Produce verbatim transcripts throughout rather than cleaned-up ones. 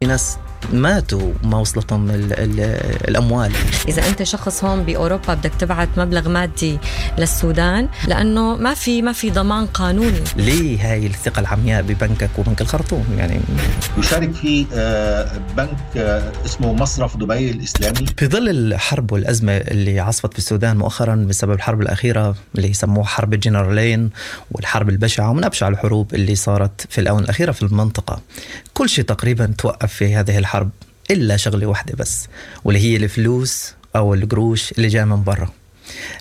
ناس ماتوا وما وصلتهم ال ال الأموال. إذا أنت شخص هون بأوروبا بدك تبعت مبلغ مادي للسودان لأنه ما في ما في ضمان قانوني. ليه هاي الثقة العمياء ببنكك وبنك الخرطوم؟ يعني يشارك في بنك اسمه مصرف دبي الإسلامي. في ظل الحرب والأزمة اللي عصفت في السودان مؤخرا بسبب الحرب الأخيرة اللي يسموها حرب الجنرالين والحرب البشعة ومن أبشع الحروب اللي صارت في الآونة الأخيرة في المنطقة، كل شيء تقريبا توقف في هذه الحرب إلا شغلة واحدة بس، واللي هي الفلوس أو القروش اللي جاء من برا.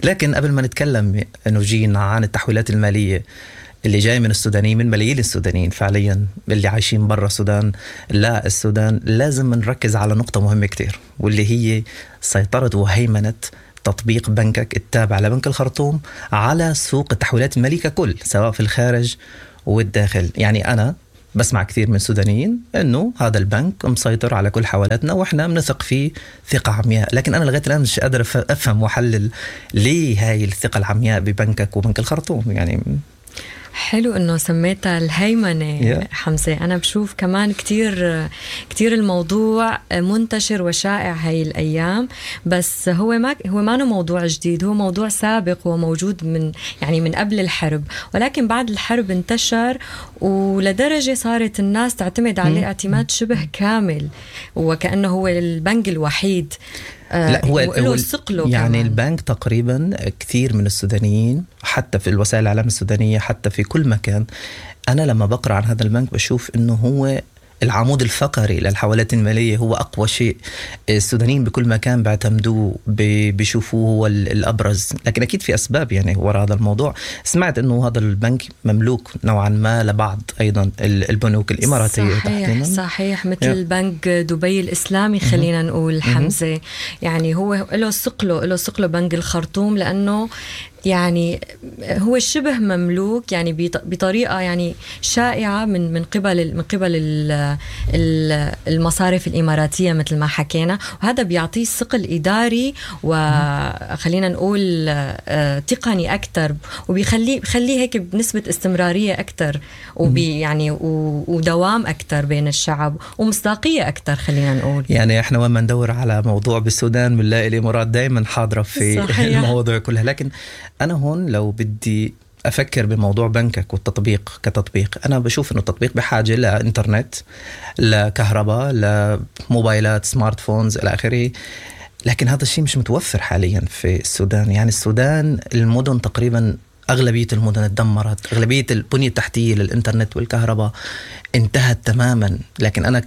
لكن قبل ما نتكلم نوجين عن التحويلات المالية اللي جاي من السودانيين، من ملايين السودانيين فعليا اللي عايشين برا السودان لا السودان، لازم نركز على نقطة مهمة كتير واللي هي سيطرة وهيمنة تطبيق بنكك التابع لبنك الخرطوم على سوق التحويلات المالية ككل، سواء في الخارج والداخل. يعني أنا بسمع كثير من السودانيين انه هذا البنك مسيطر على كل حوالاتنا واحنا بنثق فيه ثقة عمياء، لكن انا لغاية الان مش قادر افهم واحلل ليه هاي الثقة العمياء ببنكك وبنك الخرطوم. يعني حلو انه سميتها الهيمنة. yeah. حمزة، انا بشوف كمان كتير كتير الموضوع منتشر وشائع هاي الايام، بس هو ما هو ما موضوع جديد، هو موضوع سابق وموجود من يعني من قبل الحرب، ولكن بعد الحرب انتشر ولدرجة صارت الناس تعتمد عليه اعتماد شبه كامل وكأنه هو البنك الوحيد. لا هو, هو يعني كمان. البنك تقريبا كثير من السودانيين حتى في الوسائل الإعلام السودانية حتى في كل مكان، أنا لما بقرأ عن هذا البنك بشوف إنه هو العمود الفقري للحوالات المالية، هو أقوى شيء السودانيين بكل مكان بيعتمدوه، بيشوفوه هو الأبرز. لكن أكيد في أسباب يعني وراء هذا الموضوع. سمعت أنه هذا البنك مملوك نوعا ما لبعض أيضا البنوك الإماراتية. صحيح صحيح، مثل بنك دبي الإسلامي خلينا نقول حمزة. يعني هو له ثقله له ثقله بنك الخرطوم، لأنه يعني هو شبه مملوك يعني بطريقة يعني شائعة من من قبل من قبل المصارف الإماراتية مثل ما حكينا، وهذا بيعطيه ثقل إداري وخلينا نقول تقني أكثر، وبيخليه بخليه هيك بنسبة استمرارية أكثر وبي يعني ودوام أكثر بين الشعب ومصداقية أكثر خلينا نقول. يعني إحنا وين ما ندور على موضوع بالسودان بنلاقي الإمارات دائما حاضرة في صحيح. المواضيع كلها. لكن أنا هون لو بدي أفكر بموضوع بنكك والتطبيق كتطبيق، أنا بشوف إنه التطبيق بحاجة لإنترنت، لكهرباء، لموبايلات، smart phones إلى آخره، لكن هذا الشيء مش متوفر حاليا في السودان. يعني السودان المدن تقريبا أغلبية المدن تدمرت، أغلبية البنية التحتية للإنترنت والكهرباء انتهت تماما. لكن أنا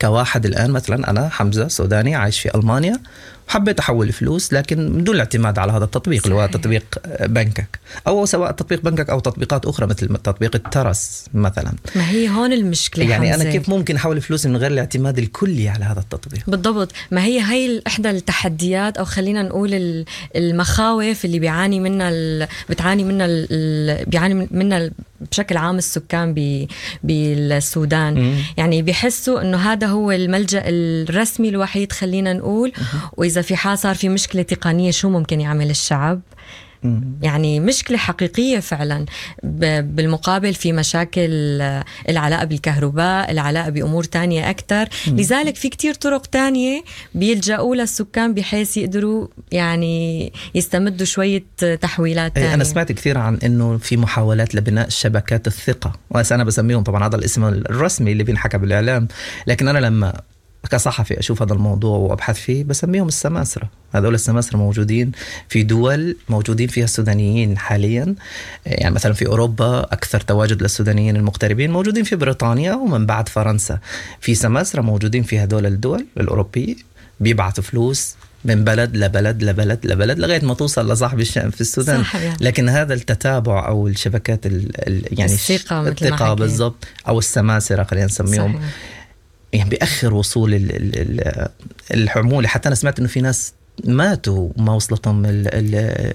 كواحد الآن مثلا، أنا حمزة سوداني عايش في ألمانيا، حبيت أحول فلوس لكن من دون الاعتماد على هذا التطبيق اللي هو تطبيق بنكك، أو سواء تطبيق بنكك أو تطبيقات أخرى مثل تطبيق الترس مثلا. ما هي هون المشكلة يعني حمزة. أنا كيف ممكن أحول فلوس من غير الاعتماد الكلي على هذا التطبيق؟ بالضبط، ما هي هي إحدى التحديات أو خلينا نقول المخاوف اللي بيعاني منها ال... بتعاني منها ال... بيعاني منها بشكل عام السكان ب... بالسودان. مم. يعني بيحسوا إنه هذا هو الملجأ الرسمي الوحيد خلينا نقول، وإذا في حال صار في مشكلة تقنية شو ممكن يعمل الشعب؟ يعني مشكلة حقيقية فعلا. بالمقابل في مشاكل العلاقة بالكهرباء، العلاقة بأمور تانية أكتر. لذلك في كتير طرق تانية بيلجأوا للسكان بحيث يقدروا يعني يستمدوا شوية تحويلات تانية. أنا سمعت كثير عن أنه في محاولات لبناء شبكات الثقة، وأنا بسميهم طبعا هذا الاسم الرسمي اللي بينحكى بالإعلام، لكن أنا لما كصحفي أشوف هذا الموضوع وأبحث فيه بسميهم السماسرة. هذول السماسرة موجودين في دول موجودين فيها السودانيين حاليا، يعني مثلا في أوروبا أكثر تواجد للسودانيين المغتربين موجودين في بريطانيا ومن بعد فرنسا. في سماسرة موجودين في هذول الدول الأوروبية بيبعثوا فلوس من بلد لبلد لبلد لبلد لغاية ما توصل لصاحب الشأن في السودان. صح. لكن هذا التتابع أو الشبكات ال ال يعني الثقة, الثقة بالضبط، أو السماسرة خلينا نسميهم. صحيح. يعني بيأخر وصول الحمولة. حتى أنا سمعت إنه في ناس ماتوا وما وصلتهم ال ال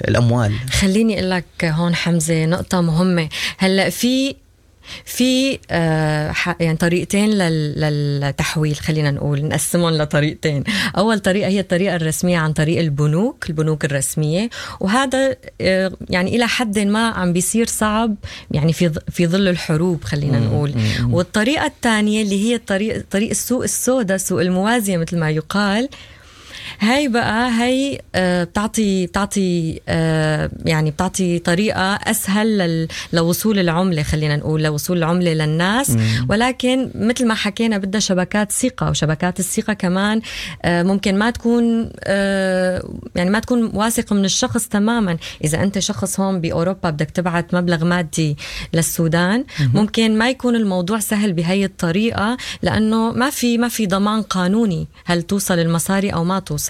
الأموال. خليني أقول لك هون حمزة نقطة مهمة. هلأ في في آه يعني طريقتين للتحويل، خلينا نقول نقسمهم لطريقتين. أول طريقة هي الطريقة الرسمية عن طريق البنوك، البنوك الرسمية، وهذا آه يعني إلى حد ما عم بيصير صعب يعني في في ظل الحروب خلينا نقول. والطريقة الثانية اللي هي الطريق طريق السوق السوداء، سوق الموازية مثل ما يقال، هاي بقى هاي بتعطي بتعطي يعني بتعطي طريقة أسهل لوصول العملة، خلينا نقول لوصول العملة للناس. مم. ولكن مثل ما حكينا بدها شبكات ثقة، وشبكات الثقة كمان ممكن ما تكون يعني ما تكون واثقة من الشخص تماما. إذا أنت شخص هون بأوروبا بدك تبعت مبلغ مادي للسودان، مم. ممكن ما يكون الموضوع سهل بهاي الطريقة، لأنه ما في ما في ضمان قانوني هل توصل المصاري أو ما توصل.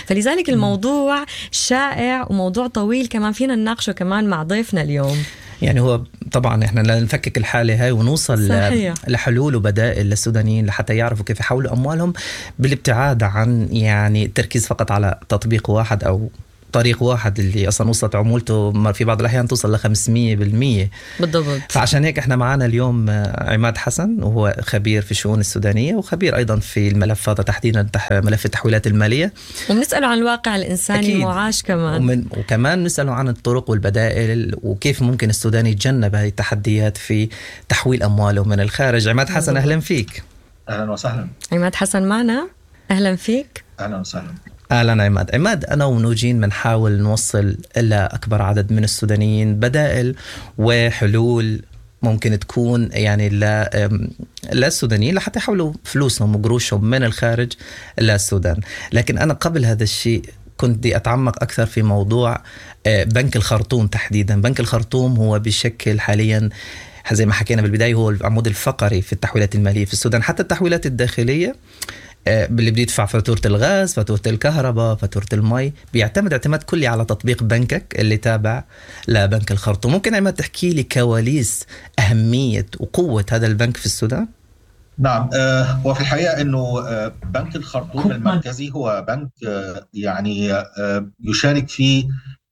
فلذلك الموضوع شائع وموضوع طويل كمان فينا نناقشه كمان مع ضيفنا اليوم. يعني هو طبعا احنا لنفكك الحالة هاي ونوصل صحيح. لحلول وبدائل للسودانيين لحتى يعرفوا كيف يحولوا أموالهم بالابتعاد عن يعني التركيز فقط على تطبيق واحد أو طريق واحد اللي أصلا وصلت عمولته في بعض الأحيان توصل ل خمسمية بالمية بالضبط. فعشان هيك احنا معنا اليوم عماد حسن، وهو خبير في الشؤون السودانية وخبير أيضا في الملف هذا تحديدا ملف التحويلات المالية، وبنسأله عن الواقع الإنساني المعاش كمان، ومن وكمان نسأله عن الطرق والبدائل وكيف ممكن السوداني يتجنب هذه التحديات في تحويل أمواله من الخارج. عماد حسن أهلا فيك. أهلا وسهلا. عماد حسن معنا، أهلا فيك. أهلا وسهلا. أهلا عماد. عماد، أنا ونوجين بنحاول نوصل إلى أكبر عدد من السودانيين بدائل وحلول ممكن تكون يعني للسودانيين لحتى يحولوا فلوسهم وقروشهم من الخارج للسودان. لكن أنا قبل هذا الشيء كنت بدي أتعمق أكثر في موضوع بنك الخرطوم تحديدا. بنك الخرطوم هو بشكل حاليا زي ما حكينا بالبداية هو العمود الفقري في التحويلات المالية في السودان، حتى التحويلات الداخلية اللي بيدفع فاتورة الغاز، فاتورة الكهرباء، فاتورة المي، بيعتمد اعتماد كلي على تطبيق بنكك اللي تابع لبنك الخرطوم. ممكن عماد تحكي لي كواليس أهمية وقوة هذا البنك في السودان؟ نعم، آه وفي الحقيقة أنه آه بنك الخرطوم المركزي هو بنك آه يعني آه يشارك فيه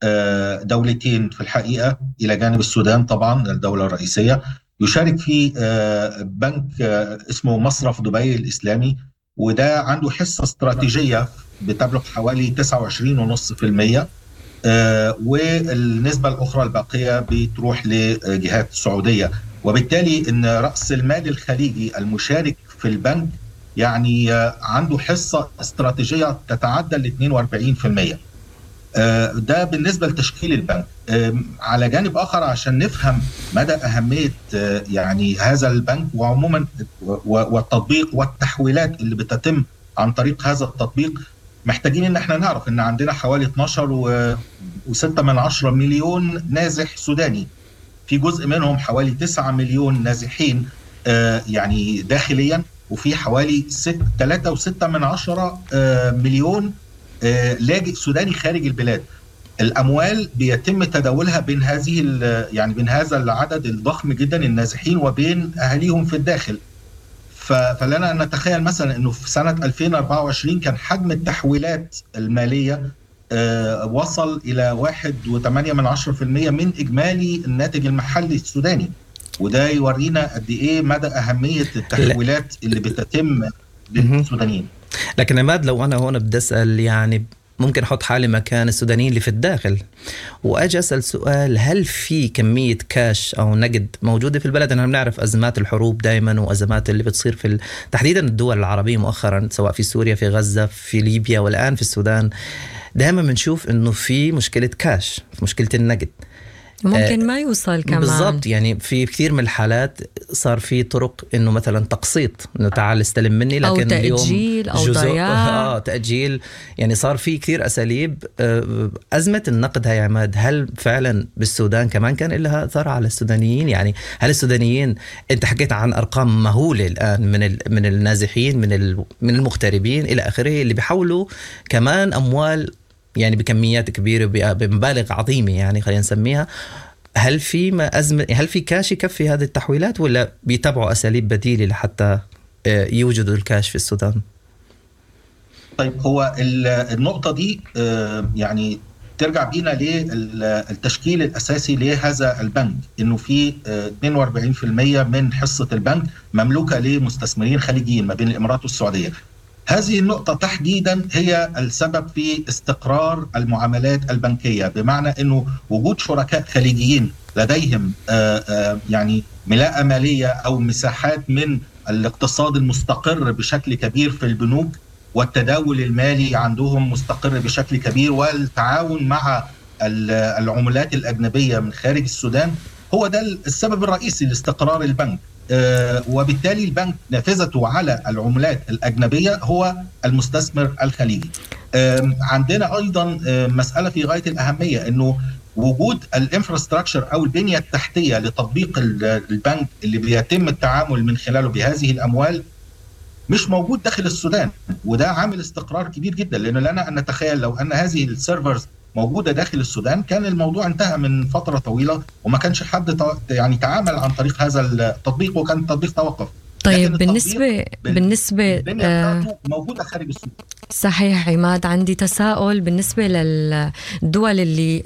آه دولتين في الحقيقة إلى جانب السودان طبعا الدولة الرئيسية. يشارك فيه آه بنك آه اسمه مصرف دبي الإسلامي، وده عنده حصة استراتيجية بتبلغ حوالي تسعة وعشرين فاصلة خمسة بالمئة، آه والنسبة الأخرى الباقية بتروح لجهات السعودية. وبالتالي إن رأس المال الخليجي المشارك في البنك يعني عنده حصة استراتيجية تتعدى ال اثنين وأربعين بالمئة. آه ده بالنسبة لتشكيل البنك. آه على جانب آخر عشان نفهم مدى أهمية آه يعني هذا البنك وعموما والتطبيق والتحويلات اللي بتتم عن طريق هذا التطبيق، محتاجين ان احنا نعرف ان عندنا حوالي اثناشر وستة من عشرة مليون نازح سوداني، في جزء منهم حوالي تسعة مليون نازحين آه يعني داخليا، وفي حوالي ثلاثة وستة من عشرة آه مليون آه لاجئ سوداني خارج البلاد. الأموال بيتم تداولها بين هذه يعني بين هذا العدد الضخم جدا النازحين وبين أهاليهم في الداخل. فلنا أن نتخيل مثلا أنه في سنة ألفين وأربعة وعشرين كان حجم التحويلات المالية آه وصل إلى واحد وثمانية من عشرة في المئة من إجمالي الناتج المحلي السوداني، وده يورينا قد إيه مدى أهمية التحويلات اللي بتتم للسودانيين. لكن عماد، لو أنا هون بدي أسأل، يعني ممكن أحط حالي مكان السودانيين اللي في الداخل وأجي أسأل سؤال، هل في كمية كاش أو نقد موجودة في البلد؟ أنا بنعرف أزمات الحروب دايما وأزمات اللي بتصير في تحديدا الدول العربية مؤخرا، سواء في سوريا، في غزة، في ليبيا، والآن في السودان، دائما بنشوف إنه في مشكلة كاش، في مشكلة النقد ممكن ما يوصل كمان. بالضبط، يعني في كثير من الحالات صار في طرق انه مثلا تقسيط، انه تعال استلم مني، لكن أو تأجيل او ضياع، اه تأجيل، يعني صار في كثير اساليب. ازمة النقد هاي عماد، هل فعلا بالسودان كمان كان لها اثر على السودانيين؟ يعني هل السودانيين، انت حكيت عن ارقام مهولة الان من من النازحين، من من المغتربين الى اخره، اللي بيحولوا كمان اموال يعني بكميات كبيرة بمبالغ عظيمة، يعني خلينا نسميها، هل في ما أزمة، هل في كاش يكفي هذه التحويلات ولا بيتبعوا أساليب بديلة لحتى يوجدوا الكاش في السودان؟ طيب، هو النقطة دي يعني ترجع بينا للتشكيل الاساسي لهذا البنك، انه في اثنين وأربعين بالمئة من حصة البنك مملوكة لمستثمرين خليجيين ما بين الامارات والسعودية. هذه النقطة تحديدا هي السبب في استقرار المعاملات البنكية، بمعنى انه وجود شركاء خليجيين لديهم يعني ملاءة ماليه او مساحات من الاقتصاد المستقر بشكل كبير في البنوك، والتداول المالي عندهم مستقر بشكل كبير، والتعاون مع العملات الأجنبية من خارج السودان، هو ده السبب الرئيسي لاستقرار البنك. وبالتالي البنك نافذته على العملات الأجنبية هو المستثمر الخليجي. عندنا أيضا مسألة في غاية الأهمية، أنه وجود الانفراستراكشر أو البنية التحتية لتطبيق البنك اللي بيتم التعامل من خلاله بهذه الأموال مش موجود داخل السودان، وده عامل استقرار كبير جدا، لأنه لنا أن نتخيل لو أن هذه ال servers موجودة داخل السودان كان الموضوع انتهى من فترة طويلة وما كانش حد يعني تعامل عن طريق هذا التطبيق، وكان التطبيق توقف. طيب بالنسبة بالنسبة آه موجودة خارج السودان. صحيح عماد، عندي تساؤل بالنسبة للدول اللي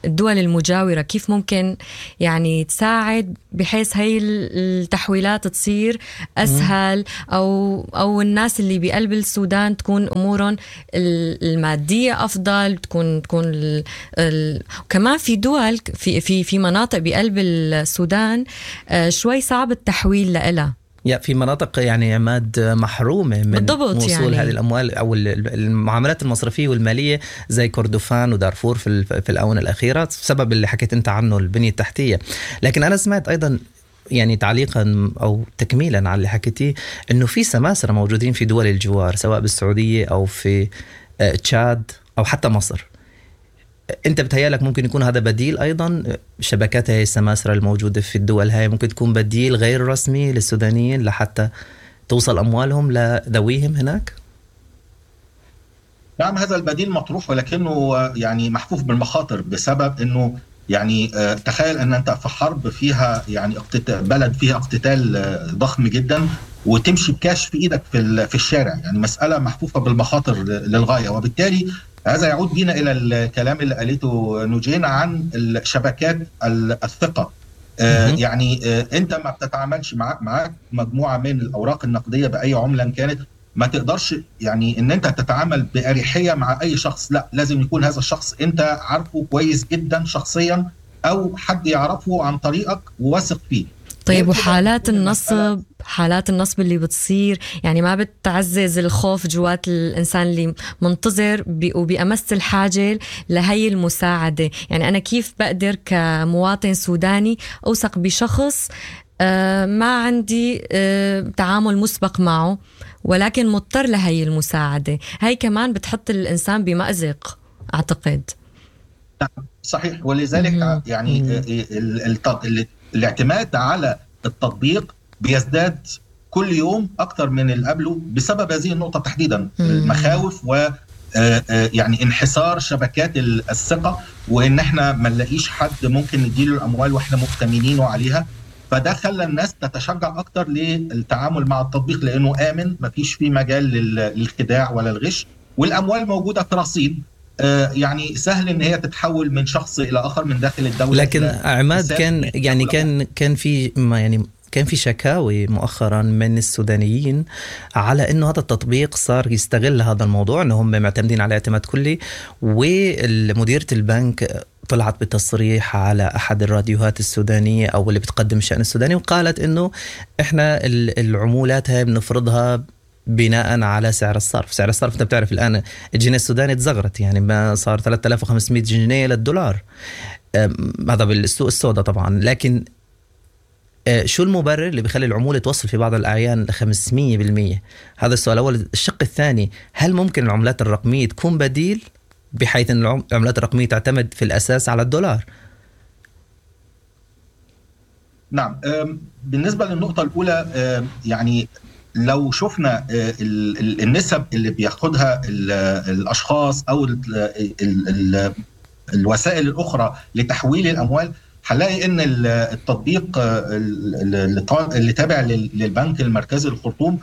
الدول المجاورة، كيف ممكن يعني تساعد بحيث هاي التحويلات تصير أسهل، أو أو الناس اللي بقلب السودان تكون أمورهم المادية أفضل، تكون تكون ال ال كمان في دول في في في مناطق بقلب السودان شوي صعب التحويل لها. يا في مناطق يعني عماد محرومة من وصول يعني هذه الأموال أو المعاملات المصرفية والمالية زي كردفان ودارفور في في الآونة الأخيرة بسبب اللي حكيت أنت عنه البنية التحتية. لكن أنا سمعت أيضا يعني تعليقا أو تكميلا على اللي حكيتيه أنه في سماسرة موجودين في دول الجوار سواء بالسعودية أو في تشاد أو حتى مصر. أنت بتهيألك ممكن يكون هذا بديل أيضا؟ شبكات هاي السماسرة الموجودة في الدول هاي ممكن تكون بديل غير رسمي للسودانيين لحتى توصل أموالهم لذويهم هناك؟ نعم، هذا البديل مطروح، ولكنه يعني محفوف بالمخاطر بسبب أنه يعني تخيل أن أنت في حرب فيها يعني بلد فيها اقتتال ضخم جدا وتمشي بكاش في إيدك في في الشارع، يعني مسألة محفوفة بالمخاطر للغاية. وبالتالي هذا يعود بنا إلى الكلام اللي قالته نوجين عن الشبكات الثقة. آه يعني آه أنت ما بتتعاملش معك معك مجموعة من الأوراق النقدية بأي عملة كانت، ما تقدرش يعني أن أنت تتعامل بأريحية مع أي شخص، لا لازم يكون هذا الشخص أنت عارفه كويس جدا شخصيا أو حد يعرفه عن طريقك وواثق فيه. طيب وحالات النصب، حالات النصب اللي بتصير يعني ما بتعزز الخوف جوات الإنسان اللي منتظر وبأمس الحاجة لهي المساعدة؟ يعني أنا كيف بقدر كمواطن سوداني أوثق بشخص ما عندي تعامل مسبق معه ولكن مضطر لهي المساعدة؟ هاي كمان بتحط الإنسان بمأزق أعتقد. صحيح، ولذلك يعني الاعتماد على التطبيق بيزداد كل يوم أكثر من اللي قبله بسبب هذه النقطة تحديدا، المخاوف و يعني انحسار شبكات الثقة، وإن احنا ما نلاقيش حد ممكن نديله الأموال وإحنا مؤتمنينه عليها. فده خلى الناس تتشجع أكثر للتعامل مع التطبيق لأنه آمن، ما فيش فيه مجال للخداع ولا الغش، والأموال موجودة في رصيد يعني سهل ان هي تتحول من شخص الى اخر من داخل الدولة. لكن عماد كان يعني كان كان في ما يعني كان في شكاوي مؤخرا من السودانيين على انه هذا التطبيق صار يستغل هذا الموضوع، انه هم معتمدين على اعتماد كلي، ومديرة البنك طلعت بتصريح على احد الراديوهات السودانية او اللي بتقدم الشأن السوداني وقالت انه احنا العمولات هاي بنفرضها بناء على سعر الصرف. سعر الصرف انت بتعرف الان الجنيه السوداني تزغرت، يعني ما صار ثلاثة آلاف وخمسمائة جنيه للدولار، هذا بالسوق السوداء طبعا. لكن شو المبرر اللي بيخلي العمولة توصل في بعض الأعيان ل خمسمائة بالمئة؟ هذا السؤال الأول. الشق الثاني، هل ممكن العملات الرقمية تكون بديل بحيث أن العملات الرقمية تعتمد في الأساس على الدولار؟ نعم، بالنسبة للنقطة الأولى، يعني لو شفنا النسب اللي بياخدها الأشخاص أو الوسائل الأخرى لتحويل الأموال، هنلاقي ان التطبيق اللي تابع للبنك المركزي الخرطوم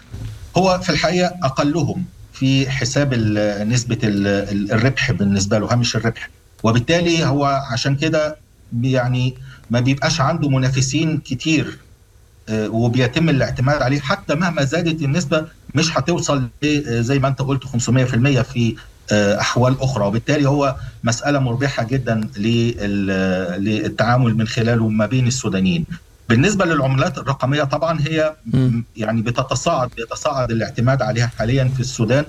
هو في الحقيقة أقلهم في حساب نسبة الربح بالنسبة له، هامش الربح. وبالتالي هو عشان كده يعني ما بيبقاش عنده منافسين كتير، وبيتم الاعتماد عليه. حتى مهما زادت النسبة مش هتوصل زي ما انت قلت خمسمية في المية في أحوال أخرى، وبالتالي هو مسألة مربحة جدا للتعامل من خلاله ما بين السودانيين. بالنسبة للعملات الرقمية طبعا هي يعني بتتصاعد بيتصاعد الاعتماد عليها حاليا في السودان،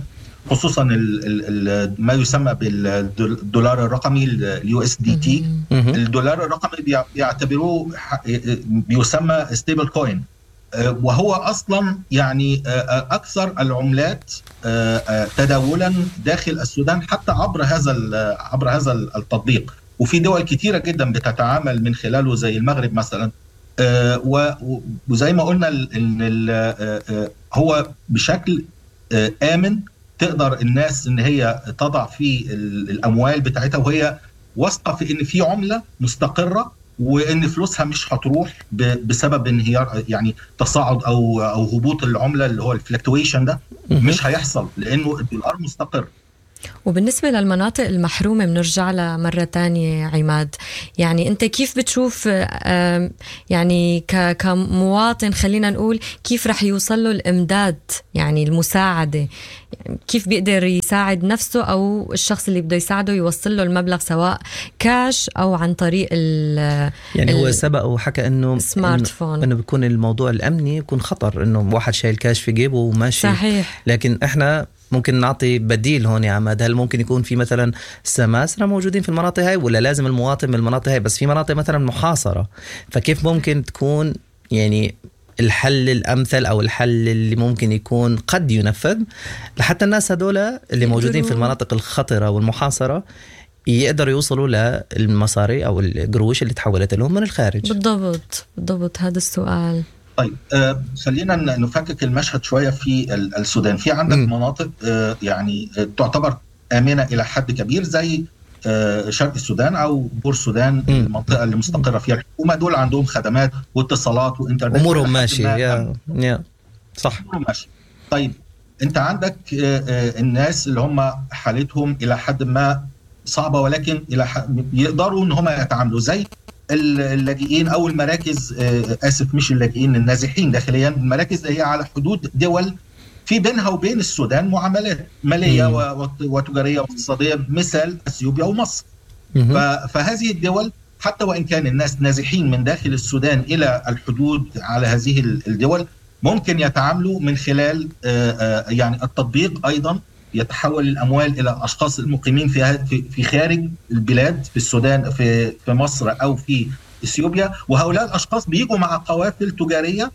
خصوصا ال ال ما يسمى بالدولار الرقمي ال USDT. الدولار الرقمي بيعتبروه بيسمى stable coin، وهو اصلا يعني اكثر العملات تداولا داخل السودان حتى عبر هذا عبر هذا التطبيق، وفي دول كثيرة جدا بتتعامل من خلاله زي المغرب مثلا. وزي ما قلنا ان هو بشكل امن تقدر الناس ان هي تضع فيه الاموال بتاعتها وهي واثقة في ان في عمله مستقره وان فلوسها مش هتروح بسبب انهيار يعني تصاعد او او هبوط العملة اللي هو ال fluctuation ده مش هيحصل لانه الدولار مستقر. وبالنسبة للمناطق المحرومة بنرجع لها مرة تانية عماد، يعني أنت كيف بتشوف يعني كمواطن خلينا نقول كيف رح يوصل له الإمداد، يعني المساعدة، كيف بيقدر يساعد نفسه أو الشخص اللي بده يساعده يوصل له المبلغ سواء كاش أو عن طريق ال يعني هو سبق وحكى إنه smartphone، إنه بيكون الموضوع الأمني يكون خطر إنه واحد شايل كاش في جيبه وماشي. صحيح. لكن إحنا ممكن نعطي بديل هون يا عماد، هل ممكن يكون في مثلا سماسرة موجودين في المناطق هاي ولا لازم المواطن من المناطق هاي؟ بس في مناطق مثلا محاصرة، فكيف ممكن تكون يعني الحل الأمثل أو الحل اللي ممكن يكون قد ينفذ لحتى الناس هذول اللي موجودين في المناطق الخطرة والمحاصرة يقدروا يوصلوا للمصاري أو القروش اللي تحولت لهم من الخارج؟ بالضبط بالضبط هذا السؤال. طيب آه خلينا نفكك المشهد شوية في السودان. في عندك م. مناطق آه يعني تعتبر آمنة إلى حد كبير زي آه شرق السودان أو بور السودان، المنطقة اللي مستقرة فيها الحكومة، دول عندهم خدمات واتصالات وإنترنت، أمورهم ماشية. يا يا صح، أمورهم ماشية. طيب أنت عندك آه آه الناس اللي هم حالتهم إلى حد ما صعبة ولكن إلى يقدروا إن هم يتعاملوا زي اللاجئين أو المراكز، آسف مش اللاجئين، النازحين داخليا، المراكز اللي هي على حدود دول في بينها وبين السودان معاملات مالية وتجارية واقتصادية، مثل أثيوبيا ومصر. فهذه الدول حتى وإن كان الناس نازحين من داخل السودان إلى الحدود على هذه الدول ممكن يتعاملوا من خلال يعني التطبيق. أيضا يتحول الأموال إلى أشخاص المقيمين في في خارج البلاد، في السودان، في في مصر أو في إثيوبيا، وهؤلاء الأشخاص بيجوا مع قوافل تجارية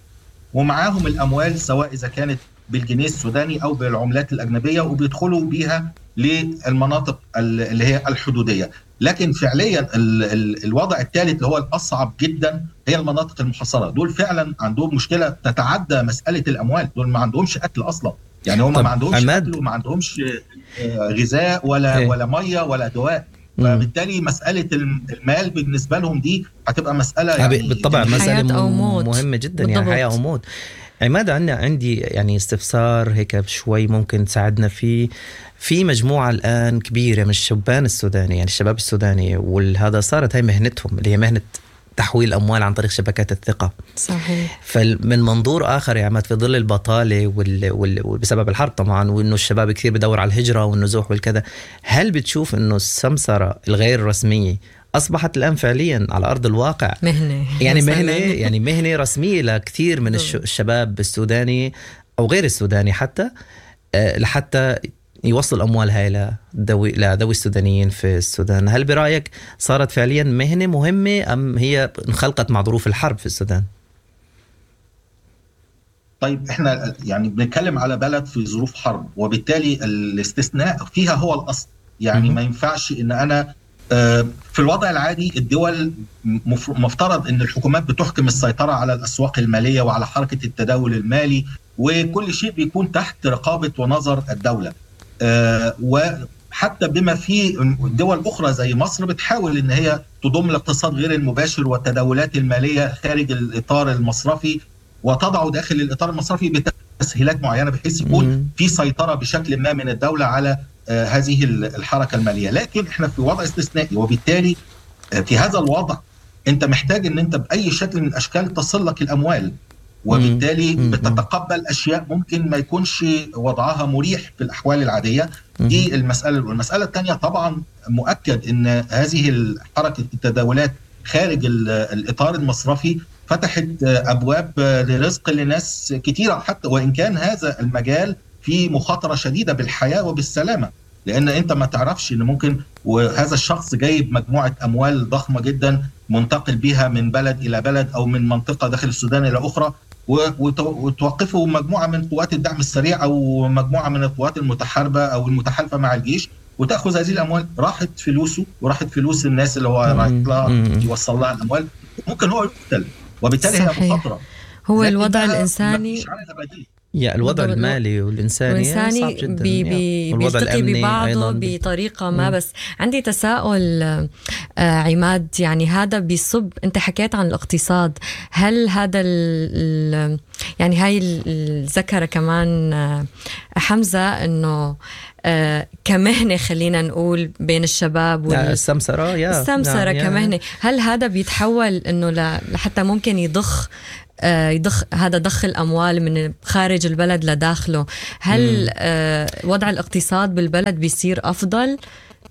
ومعاهم الأموال سواء إذا كانت بالجنيه السوداني أو بالعملات الأجنبية، وبيدخلوا بيها للمناطق اللي هي الحدودية. لكن فعليا الوضع الثالث اللي هو الأصعب جدا هي المناطق المحاصرة. دول فعلا عندهم مشكلة تتعدى مسألة الأموال، دول ما عندهمش أكل أصلا، يعني هم ما عندهمش أكل وما عندهمش غذاء ولا إيه؟ ولا مية ولا دواء. فبالتالي مسألة المال بالنسبة لهم دي هتبقى مسألة يعني بالطبع مسألة أو موت. مهمة جدا، يعني حياة أو موت. عماد، عندنا عندي يعني استفسار هيك شوي ممكن تساعدنا فيه. في مجموعة الآن كبيرة من الشبان السوداني، يعني الشباب السوداني، وهذا صارت هاي مهنتهم اللي هي مهنة تحويل أموال عن طريق شبكات الثقة. صحيح. فمن منظور آخر يا عماد، في ظل البطالة وال... وال... وبسبب الحرب طبعا، وإنه الشباب كثير بدور على الهجرة والنزوح والكذا، هل بتشوف إنه السمسرة الغير رسمية أصبحت الآن فعليا على أرض الواقع مهنة، يعني مهنة يعني مهنة رسمية لكثير من الش... الشباب السوداني أو غير السوداني حتى لحتى يوصل أموال هاي لذوي لذوي السودانيين في السودان؟ هل برأيك صارت فعليا مهنة مهمة أم هي انخلقت مع ظروف الحرب في السودان؟ طيب احنا يعني بنتكلم على بلد في ظروف حرب، وبالتالي الاستثناء فيها هو الأصل. يعني ما ينفعش ان انا في الوضع العادي الدول مفترض ان الحكومات بتحكم السيطرة على الأسواق المالية وعلى حركة التداول المالي، وكل شيء بيكون تحت رقابة ونظر الدولة. آه وحتى بما في دول أخرى زي مصر بتحاول إن هي تضم الاقتصاد غير المباشر والتداولات المالية خارج الإطار المصرفي وتضعه داخل الإطار المصرفي تسهيلات معينة بحيث يكون في سيطرة بشكل ما من الدولة على هذه الحركة المالية. لكن احنا في وضع استثنائي، وبالتالي في هذا الوضع انت محتاج ان انت باي شكل من الاشكال تصل لك الاموال، وبالتالي بتتقبل اشياء ممكن ما يكونش وضعها مريح في الاحوال العادية. دي المسالة الاولى. المسالة الثانية طبعا مؤكد ان هذه حركة التداولات خارج الاطار المصرفي فتحت ابواب لرزق لناس كثيرة، حتى وان كان هذا المجال في مخاطره شديدة بالحياة وبالسلامه، لان انت ما تعرفش ان ممكن وهذا الشخص جايب مجموعة اموال ضخمة جدا منتقل بها من بلد الى بلد او من منطقة داخل السودان الى اخرى، وتوقفه مجموعة من قوات الدعم السريع او مجموعة من القوات المتحاربه او المتحالفه مع الجيش، وتاخذ هذه الاموال. راحت فلوسه وراحت فلوس الناس اللي هو رايح لها يوصل لها الاموال، ممكن هو يقتل، وبالتالي هي مخاطره. هو الوضع الانساني يا الوضع المالي والإنساني, والإنساني صعب جدا، بي بي بيلتقي ببعضه بطريقة ما. بس عندي تساؤل آه عماد، يعني هذا بيصب، أنت حكيت عن الاقتصاد، هل هذا ال يعني هاي الذكرة كمان آه حمزة أنه آه كمهنة خلينا نقول بين الشباب وال... السمسرة يا السمسرة كمهنة، هل هذا بيتحول أنه لحتى ممكن يضخ يضخ هذا ضخ الأموال من خارج البلد لداخله؟ هل مم. وضع الاقتصاد بالبلد بيصير أفضل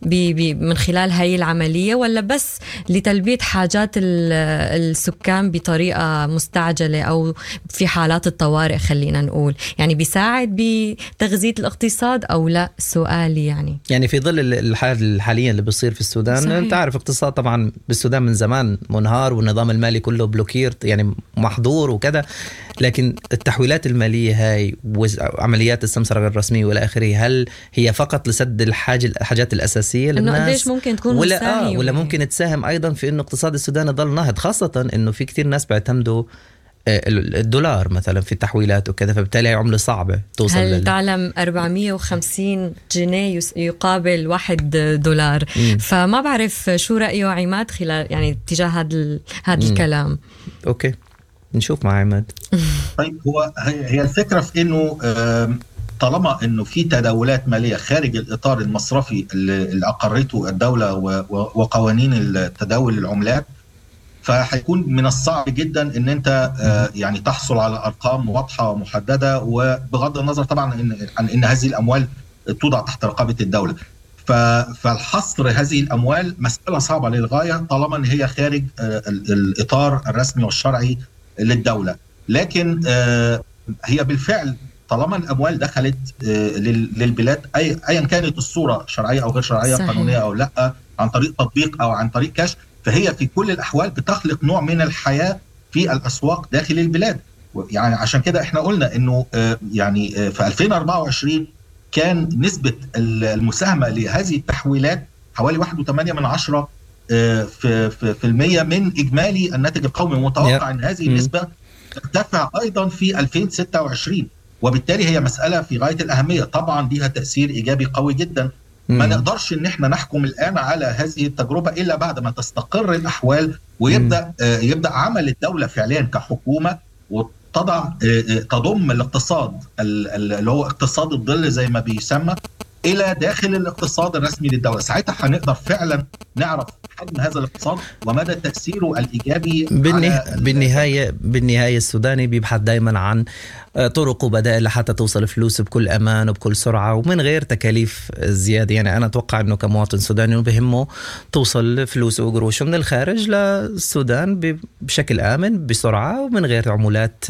بي بي من خلال هاي العملية، ولا بس لتلبية حاجات السكان بطريقة مستعجلة أو في حالات الطوارئ خلينا نقول؟ يعني بيساعد بتغذية الاقتصاد أو لا؟ سؤالي يعني يعني في ظل الحال الحالية اللي بيصير في السودان. صحيح. أنت عارف اقتصاد طبعا بالسودان من زمان منهار، والنظام المالي كله blocked يعني محظور وكذا، لكن التحويلات المالية هاي وعمليات السمسرة غير الرسمية والى آخره، هل هي فقط لسد الحاجة الحاجات الأساسية للناس؟ قديش ممكن تكون ولا آه ولا ممكن تساهم أيضا في إنه اقتصاد السودان يضل ناهض، خاصة إنه في كثير ناس بيعتمدوا الدولار مثلا في التحويلات وكذا، فبالتالي عملة صعبة توصل. هل لل... تعلم أربعمية وخمسين جنيه يقابل واحد دولار؟ مم. فما بعرف شو رأيه عماد خلال يعني تجاه هذا هذا الكلام. okay نشوف مع عماد. طيب هو هي الفكرة في إنه طالما إنه في تداولات مالية خارج الإطار المصرفي اللي أقرته الدولة وقوانين التداول العملات، فهيكون من الصعب جدا ان انت يعني تحصل على ارقام واضحة ومحددة، وبغض النظر طبعا عن ان هذه الاموال توضع تحت رقابه الدولة. فالحصر هذه الاموال مسالة صعبة للغاية طالما ان هي خارج الاطار الرسمي والشرعي للدولة. لكن هي بالفعل طالما الاموال دخلت للبلاد ايا كانت الصورة، شرعية او غير شرعية، صحيح. قانونية او لا، عن طريق تطبيق او عن طريق كاش، فهي في كل الأحوال بتخلق نوع من الحياة في الأسواق داخل البلاد. يعني عشان كده احنا قلنا انه يعني في ألفين وأربعة وعشرين كان نسبة المساهمة لهذه التحويلات حوالي واحد وثمانية من عشرة في, في, في المية من إجمالي الناتج القومي. متوقع ان هذه النسبة ترتفع أيضا في ألفين وستة وعشرين، وبالتالي هي مسألة في غاية الأهمية. طبعا لها تأثير إيجابي قوي جدا. ما نقدرش ان احنا نحكم الان على هذه التجربة الا بعد ما تستقر الاحوال ويبدا آه يبدا عمل الدولة فعليا كحكومة، وتضع آه تضم الاقتصاد اللي هو اقتصاد الظل زي ما بيسمى الى داخل الاقتصاد الرسمي للدولة. ساعتها هنقدر فعلا نعرف حجم هذا الاقتصاد ومدى تاثيره الايجابي. بالنها... بالنهاية بالنهاية السوداني بيبحث دائما عن طرق وبدائل لحتى توصل فلوسه بكل امان وبكل سرعة ومن غير تكاليف زيادة. يعني انا اتوقع انه كمواطن سوداني بهمه توصل فلوسه وقروشه من الخارج للسودان بشكل امن بسرعة ومن غير عمولات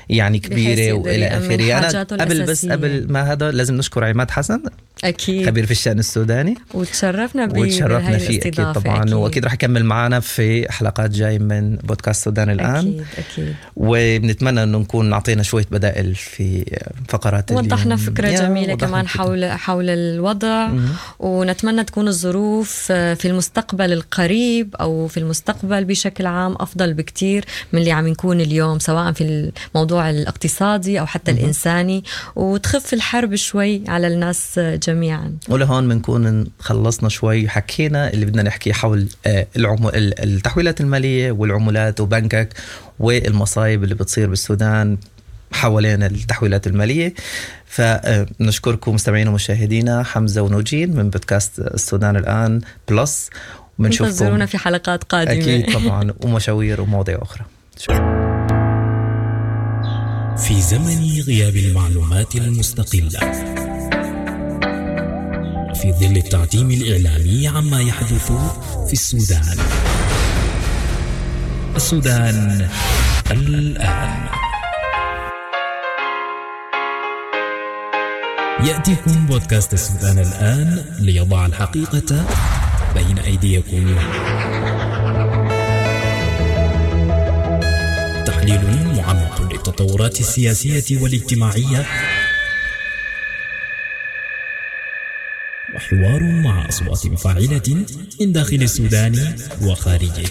يعني كبيرة والى اخره. انا قبل بس قبل ما هذا لازم نشكر عماد حسن، أكيد خبير في الشأن السوداني، وتشرفنا به وتشرفنا فيه أكيد طبعا. أكيد. وأكيد رح يكمل معنا في حلقات جاي من بودكاست السودان الآن. أكيد أكيد. وبنتمنى أنه نكون نعطينا شوية بدائل في فقرات، وضحنا فكرة جميلة كمان حول حول الوضع. مم. ونتمنى تكون الظروف في المستقبل القريب أو في المستقبل بشكل عام أفضل بكتير من اللي عم نكون اليوم، سواء في الموضوع الاقتصادي أو حتى مم. الإنساني، وتخف الحرب شوي على الناس جميعا. ولهون بنكون خلصنا شوي، حكينا اللي بدنا نحكي حول العمو... التحويلات المالية والعملات وبنكك والمصايب اللي بتصير بالسودان حوالين التحويلات المالية. فنشكركم مستمعينا ومشاهدينا، حمزة ونوجين من بودكاست السودان الآن Plus، ونشوفكم انتظرونا في حلقات قادمة أكيد طبعا، ومشاوير ومواضيع أخرى. شكرا. في زمن غياب المعلومات المستقلة، في ظل التعتيم الإعلامي عما يحدث في السودان، السودان الآن. يأتيكم بودكاست السودان الآن ليضع الحقيقة بين أيديكم. تحليل معمق للتطورات السياسية والاجتماعية، وحوار مع أصوات فاعلة من داخل السودان وخارجه.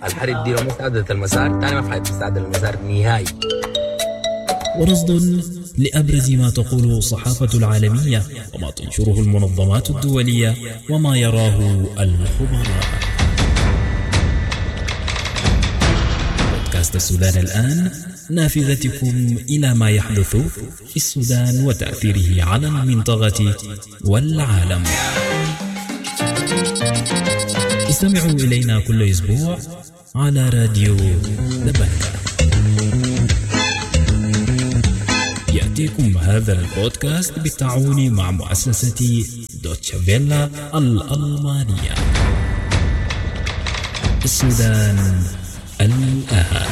الحرب دي لو ما استعدلت المسار تاني ما في حد يستعدل المسار نهائي. ورصد لأبرز ما تقوله الصحافة العالمية وما تنشره المنظمات الدولية وما يراه الخبراء. بودكاست السودان الآن، نافذتكم إلى ما يحدث في السودان وتأثيره على المنطقة والعالم. استمعوا إلينا كل أسبوع على راديو دبنكا. يأتيكم هذا البودكاست بالتعاون مع مؤسسة دوتشا فيلا الألمانية. السودان الآن.